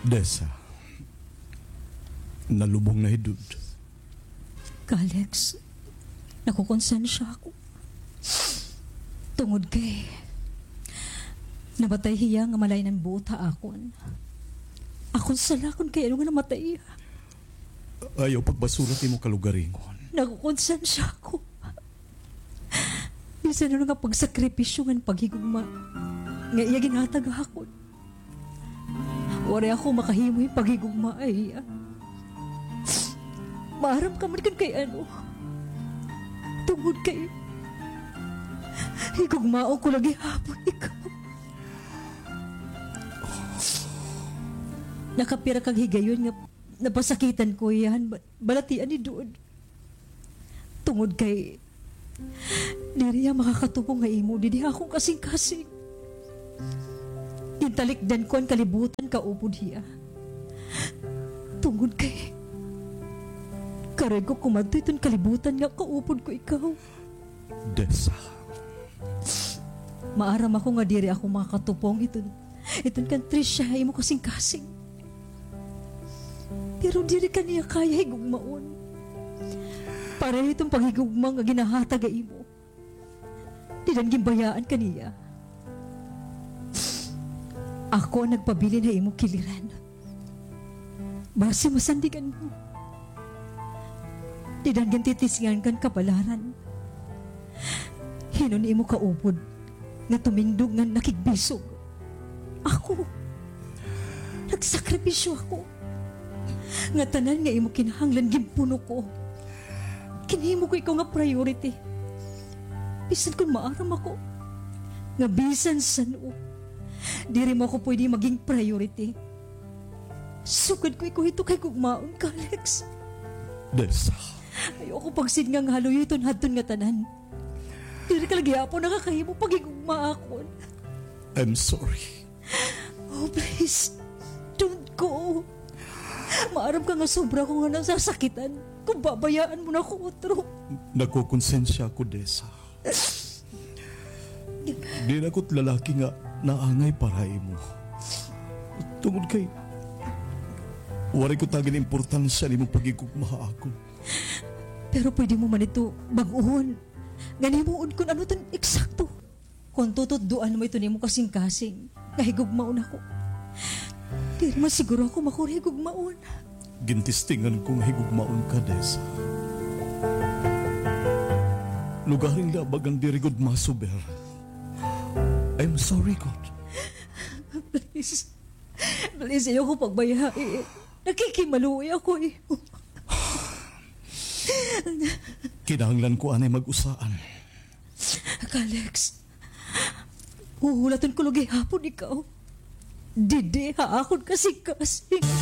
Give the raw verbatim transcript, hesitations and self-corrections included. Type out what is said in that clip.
Dessa, nalubong na hi Dud. Kalex, nakukonsensya ako. Tungod kay namatay hiya nga malain-an buot ha akon. Akon sala kon kay ano nga namatay hiya. Ayaw pagbasura it imo kalugaringon. Nakukonsensya ako. Bisan ano nga pagsakripisyo ngan paghigugma nga iya ginhatag ha akon, waray ako makahimo hin paghigugma ha iya. Maaram ka man kon kay ano. Tungod kay higugmaon ko la gihapon ikaw. Nakapira ka higayon nga napasakitan ko hiya han ba-, balatian ni Dud. Tungod kay diri hiya makakatubong ha imo didi ha akon kasingkasing. Gintalikdan ko an kalibutan kaupod hiya. Tungod kay karuyag ko kumadto hiton kalibutan nga kaupod ko ikaw. Dessa. Maaram ako nga diri ako makakatupong hiton, hiton kan Tricia ha imo kasingkasing. Pero diri ka niya kaya higugmaon. Pareho hiton paghigugma nga ginhahatag ha imo. Dida ginbayaan ka niya. Ako an nagpabilin ha imo kiliran. Basi masandigan mo. Dida gintitisingan kan kapalaran. Hin-o an imo kaupod nga tumindog ngan nakigbisog? Ako. Nagsakripisyo ako. Ngatanan nga imo kinahanglan ginpuno ko. Ginhimo ko ikaw nga priority. Bisan kon maaram ako nga bisan san-o, diri mo ako pwede maging priority. Sugad ko ikaw hito kay gugmaon ka, Alex. Dessa. Ayaw ako pagsidnga nga haluyoton hadton ngatanan. Diri ka la gihapon nakakahimo paghigugma ha akon. I'm sorry. Oh, please. Don't go. Maaram ka nga sobra ko nga nasasakitan kon babayaan mo na ako utro. Nakukonsensya ako, Dessa. Diri ako it lalaki nga naangay para ha imo. Tungod kay waray ko tagi hin importansya an imo paghigugma ha akon. Pero pwede mo man ito bag-ohon. Ngan himuon kon ano iton eksakto. Kon tututdoan mo iton imo kasingkasing nga higugmaon ako. Diri man siguro ako makuri higugmaon. Gintestingan ko nga higugmaon ka, Dessa. Lugaring la bagan diri gud masuber. I'm sorry gud. Please. Please, ayaw ko pagbayai. Nakikimaluoy ako ha imo. Kinahanglan ko anay mag-usaan. Kalex, huhulaton ko la gihapon ikaw didi ha akon kasingkasing.